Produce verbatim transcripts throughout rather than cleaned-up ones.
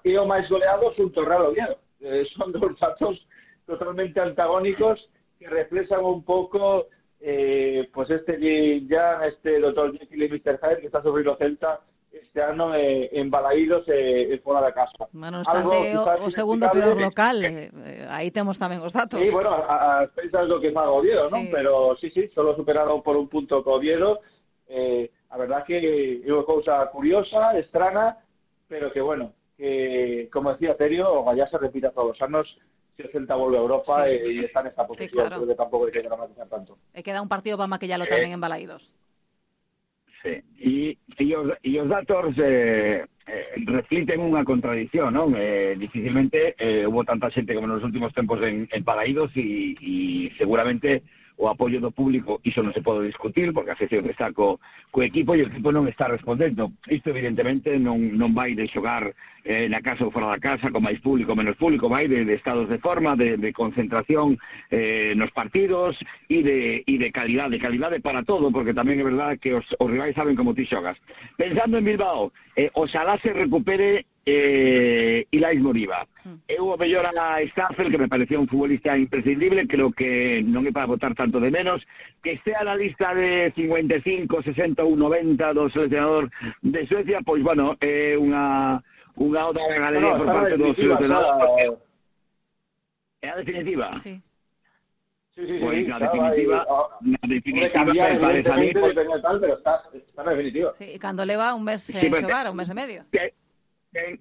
e o máis goleado xunto ao Real Oviedo. Eh, son dos datos totalmente antagónicos que reflexan un pouco eh, pues este ya este doutor Jekyll e mister Hyde que está sobre o Celta este ano eh, en Balaídos e eh, fora da casa. Bueno, obstante, o, o segundo peor local, eh, eh, aí temos tamén os datos. Sí, bueno, as pensas do que faga Oviedo, sí. Non? Pero sí, sí, solo superado por un punto co Oviedo. Eh, a verdad que é unha cousa curiosa, estrana, pero que, bueno, que, como decía Terio, o Gallá se repita todos os anos se o Celta volve a Europa sí. e, e está nesta posición, sí, claro. Creo que tampouco hai que dramatizar tanto. E queda un partido para maquillalo eh. tamén en Balaídos. Sí, e, e, os, e os datos eh, eh, refliten unha contradición, non? Eh, dificilmente eh, hubo tanta xente como nos últimos tempos en, en Balaídos e, e seguramente o apoio do público, iso non se pode discutir, porque a afección está co, co equipo e o equipo non está respondendo. Isto, evidentemente, non, non vai de xogar eh, na casa ou fora da casa, con máis público ou menos público, vai de, de estados de forma, de, de concentración eh, nos partidos e de, e de calidade, calidade para todo, porque tamén é verdade que os, os rivais saben como ti xogas. Pensando en Bilbao, eh, oxalá se recupere eh, Ilais Moriba. Mm. Eu o mellor a Staffel, que me parecía un futbolista imprescindible, creo que non é para botar tanto de menos, que estea na lista de cincuenta e cinco, sesenta ou noventa do seleccionador de Suecia, pois, bueno, é unha unha oda de galería no, por parte do seleccionador. É a definitiva? Sí. Sí, sí, pues sí, na definitiva, ahí, na definitiva, cambiar, me parece a mí, pues, tal, pero está, está na definitiva. Sí, e cando leva un mes sí, en xogar, un mes e medio. Que,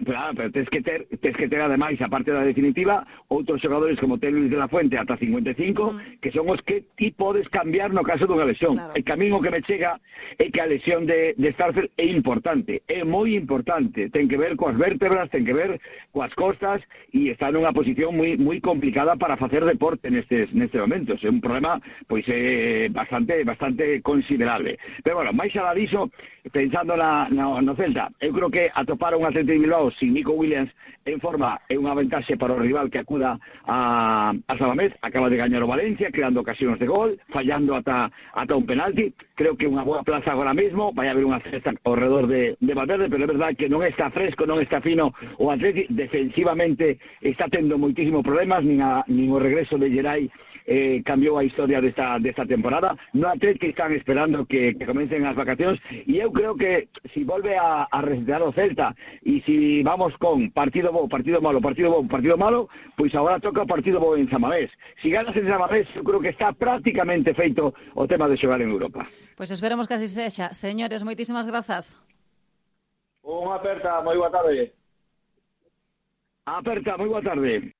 Claro, pero tens que ter, tens que ter ademais, a parte da definitiva, outros xogadores como ten Luis de la Fuente ata cincuenta e cinco, mm. que son os que ti podes cambiar no caso dunha lesión. Claro. El camiño que me chega é que a lesión de, de Starfel é importante, é moi importante, ten que ver coas vértebras, ten que ver coas costas, e está nunha posición moi moi complicada para facer deporte nestes nestes momentos. É un problema pois é bastante bastante considerable. Pero bueno, máis alá diso, pensando na, na, no Celta, eu creo que atopar un Atlético de Bilbao sin Nico Williams en forma é unha ventaxe para o rival que acuda a, a Samamés. Acaba de gañar o Valencia, creando ocasións de gol, fallando ata, ata un penalti. Creo que unha boa plaza agora mesmo, vai haber unha cesta ao redor de, de Valverde, pero é verdade que non está fresco, non está fino o Atlético, defensivamente está tendo moitísimos problemas, nin, a, nin o regreso de Geray eh, cambiou a historia desta, desta temporada. No Atlético están esperando que, que comecen as vacacións, e eu creo que si volve a, a resetear o Celta, e si vamos con partido bo, partido malo, partido bo, partido malo, pois agora toca o partido bo en Samamés. Si ganas en Samamés, eu creo que está prácticamente feito o tema de xogar en Europa. Pois esperemos que así sexa. Señores, moitísimas grazas. Unha aperta, moi boa tarde. Aperta, moi boa tarde.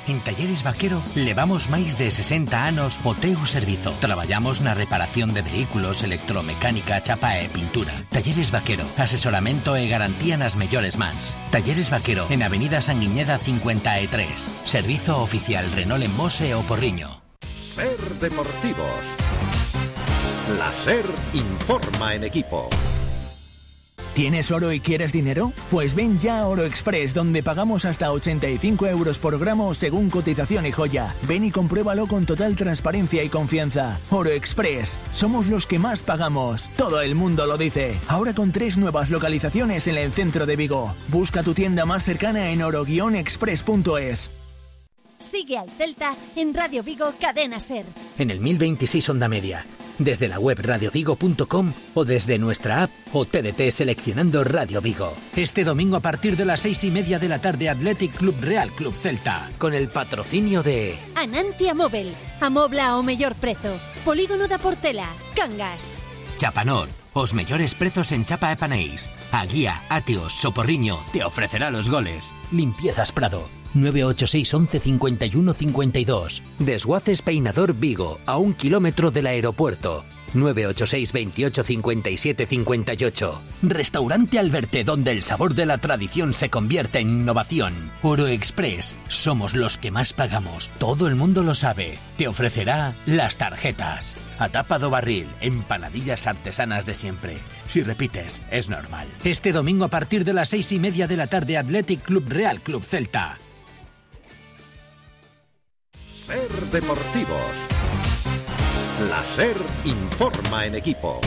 En Talleres Vaquero levamos máis de sesenta anos o teu servizo. Traballamos na reparación de vehículos, electromecánica, chapa e pintura. Talleres Vaquero, asesoramento e garantía nas mellores mans. Talleres Vaquero, en Avenida Sanguiñeda cincuenta e tres. Servizo oficial Renault en Mos e O Porriño. Ser Deportivos. La SER informa en equipo. ¿Tienes oro y quieres dinero? Pues ven ya a Oro Express, donde pagamos hasta ochenta y cinco euros por gramo según cotización y joya. Ven y compruébalo con total transparencia y confianza. Oro Express, somos los que más pagamos. Todo el mundo lo dice. Ahora con tres nuevas localizaciones en el centro de Vigo. Busca tu tienda más cercana en oro guion express punto es. Sigue al Celta en Radio Vigo Cadena SER. En el mil veintiséis Onda Media. Desde la web radio vigo punto com o desde nuestra app o T D T seleccionando Radio Vigo. Este domingo a partir de las seis y media de la tarde, Athletic Club Real Club Celta, con el patrocinio de Anantia Móvel, amobla ao mellor prezo, Polígono da Portela, Cangas. Chapanor, os mellores prezos en chapa e panéis. A Guía, Atios, Soporriño te ofrecerá los goles. Limpiezas Prado, nueve ocho seis once cincuenta y uno cincuenta y dos. Desguaces Peinador Vigo, a un kilómetro del aeropuerto. nueve ocho seis veintiocho cincuenta y siete cincuenta y ocho. Restaurante Alberte, donde el sabor de la tradición se convierte en innovación. Oro Express, somos los que más pagamos. Todo el mundo lo sabe. Te ofrecerá las tarjetas. A tapa do barril, empanadillas artesanas de siempre. Si repites, es normal. Este domingo a partir de las seis y media de la tarde, Athletic Club Real Club Celta. Ser Deportivos. La SER informa en equipo.